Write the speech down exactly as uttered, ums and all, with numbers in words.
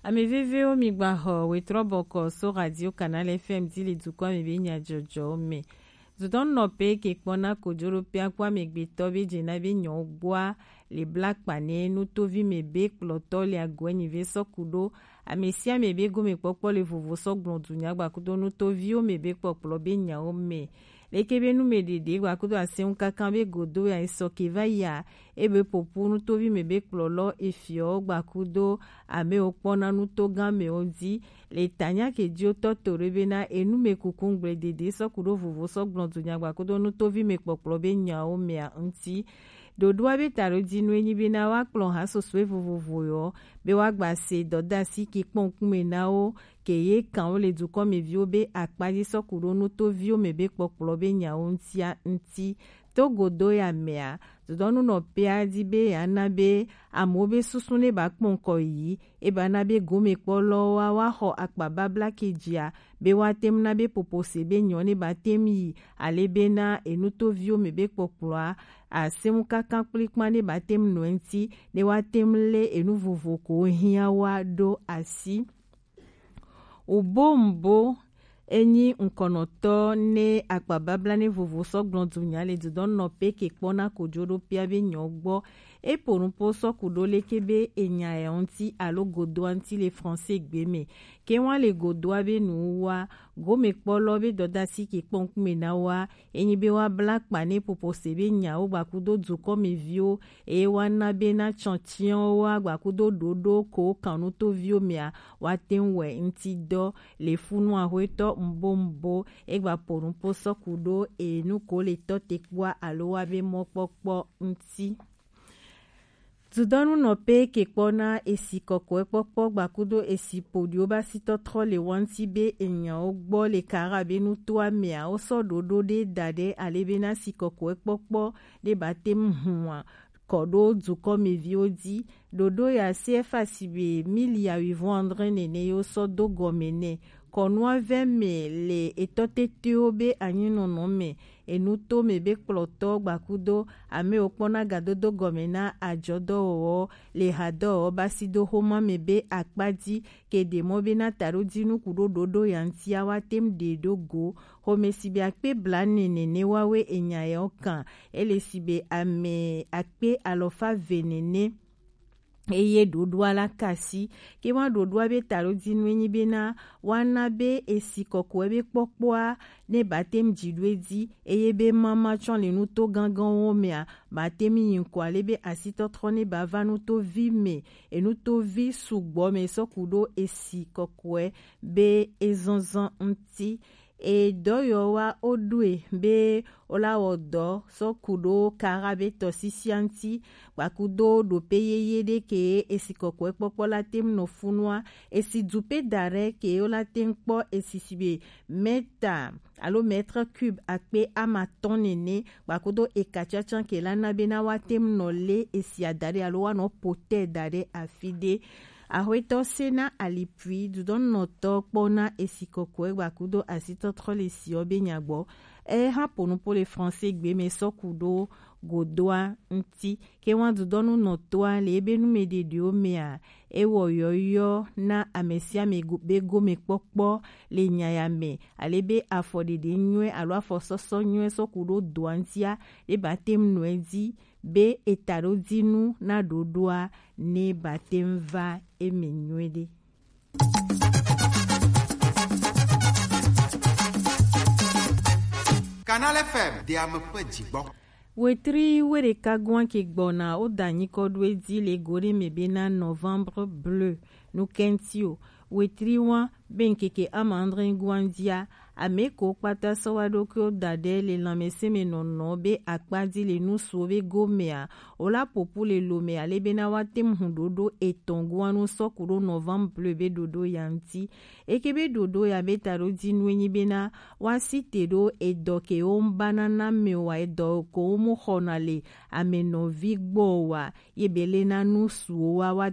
Ame vevewo, mi gba xɔ wetrɔ bɔkɔ so Radio Canal F M di le dukɔ me be nyajɔjɔ me. Dudɔn nɔ pe ke kpɔna kojo ɖo pe akpɔ amegbetɔ be jena be nyɔ gbɔa le bla kpa ne nutovi me be kplɔtɔ le agɔe nyi ve sɔku ɖo ame sia ame be gome kpɔkpɔ le vovo sɔ gblɔ dunya gbakudo nutoviwo me be kpɔkplɔ be nyawo me. Leke be nu me ɖeɖe gbakudo asɛnŋu kankan be godo ya esɔ ke va yia, ebe popu nutovi me be kplɔlɔ efiɔ gbakudo ame wo kpɔna nutogan me wo di. Le tanya ke di wo tɔ to ɖe be na enu me kuku ŋgble ɖeɖe sɔ ku ɖo vovo sɔ gblɔ dunya gbakudo nutovi me kpɔkplɔ be nyawo mea ŋuti. Ɖoɖoa be taɖodinu enyi be na woakplɔ ha sosɔe vovovo yɔ be woagba se dɔdasi ki kpɔnkume na wo ke ye kan wo le dukɔmeviwo be akpa dzi sɔ ku ɖo nutoviwo me be kpɔkplɔ be nyawo ŋutia ŋuti. To godo ya mea, dodɔnu nɔ pea di be yeana be amewo be susu ne ba kpɔn kɔ yi, e ba na be gomekpɔlɔwoa wa xɔ akpa babla ke dzia be woate ŋu na be popose be nyɔ ne ba te ŋu yi ale be na enutoviwo me be kpɔkplɔa asɛnŋu kankan kplikpan ne ba te ŋu nɔ eŋuti ne woate ŋu lé enu vovo ko hiã wa ɖo asi. Ubombo enyi ŋkɔnɔtɔ ne akpababla ne vovo sɔ gblɔ dunya le dodɔn nɔ pe ke kpɔna kojo ɖo pia be nyɔ gbɔ. Epo nupo sɔ ku ɖo leke be enya ya ŋuti alo godoa ŋuti le français gbe me. Ke wa le godoa be nu wa gome kpɔlɔ be dɔdasi ke kpɔn kume na wa enyi be wa bla kpa ne popose be nyawo gbakudo dukɔmeviwo eye wa na be na tsɔtiɔwo wa gbakudo ɖoɖo ko kan nutoviwo mea wa te ŋu wɛ ŋuti dɔ le funu ahwetɔ mbo mbo egba po nupo sɔ ku ɖo enu ko le tɔ te kpɔa alo wa be mɔkpɔkpɔ ŋuti. Dudɔnu nɔ pe ke kpɔ na esi kɔkɔe kpɔkpɔ gbakudo esi poɖiwo ba si tɔtrɔ le wanti be enyawo gbɔ le kara be nutoa mea wo sɔ ɖoɖo ɖe da ɖe ale be na si kɔkɔe kpɔkpɔ ɖe ba te ŋu hua kɔ ɖo dukɔmeviwo di. Ɖoɖo ya C F A si be mili ya wivɔn andre nene yo sɔ do gɔme nɛ. Kɔnua vɛ me le etɔ tetewo be anyinɔnɔ me enuto me be kplɔtɔ gbakudo ame wo kpɔna gadodo gɔme na ajɔdɔwɔwɔ le hadɔwɔwɔ basido xoma me be akpa dzi ke ɖe mɔ be na taɖodinu ku ɖo ɖoɖo ya ŋutia wa te ŋu ɖe ɖo go. Xome si be akpe bla nene ne wawe enya yawo kan ele si be ame akpe alɔfa ve nene eye ɖoɖoa la kasi ke wa ɖoɖoa be taɖodinu enyi be na wa na be esi kɔkɔe be kpɔkpɔa ne ba te ŋu dzi ɖo edzi eye be mama tsɔ le nuto ganganwo mea ba te ŋu yi ŋkɔ ale be asitɔtrɔ ne ba va nutovi me enutovi sugbɔ me sɔ ku ɖo esi kɔkɔe be ezɔnzɔn ŋuti. Edɔyɔwa wo ɖoe be wo la wɔ dɔ sɔ ku ɖo kara be tɔsisia ŋuti gbakudo ɖope yeye ɖe ke esi kɔkɔe kpɔkpɔ la te ŋu nɔ funua esi du pe da ɖe ke wo la te ŋu kpɔ esi si be mɛta alo mètre cube akpe amatɔn nene gbakudo eka tsatsa ke la na be na wa te ŋu nɔ le esi ada ɖe alo wa nɔ potɛ da ɖe afi ɖe. Axwetɔ Sena Alipui dudɔnɔtɔ kpɔ na esi kɔkɔe gbakudo asitɔtrɔ le siɔ be nyagbɔ. E ha ponupo le français gbe me sɔ ku ɖo godoa ŋuti. Ke wa dudɔnu nɔtɔa le ebe nu me ɖeɖewo mea, e wɔ yɔyɔ na ame sia ame go- be gome kpɔkpɔ le nya ya me. Ale be afɔ ɖeɖe nyuie alo afɔ sɔsɔ nyuie sɔ ku ɖo doa ŋutia, ɖe ba te ŋu nɔe dzi be etaɖodinu na ɖoɖoa ne ba te ŋu va eme nyuiɖe. Canal F M de ame ƒe dzigbɔ. Wetri weɖeka goa ke gbɔna wo da nyikɔ ɖo edzi le go ɖe me bena novembre bleu. Nukentio wetri wa be ŋkeke ama andre goa dzia ame ko kpata sɔ wa ɖokuiwo da ɖe le lãmesẽ me nɔnɔ be akpa dzi le nusuwo be gomea, wo la ƒoƒu le lo me ale bena woate ŋu hu ɖoɖo etɔ̃ goa nu sɔ ku ɖo novembre be ɖoɖo ya ŋuti. Eke be ɖoɖo ya be taɖodinu enyi bena woasi te ɖo edɔ ke wo ŋu bana na me wa edɔ ko wo mu xɔna le ame nɔvi gbɔ wa ye be le na nusuwo wa wa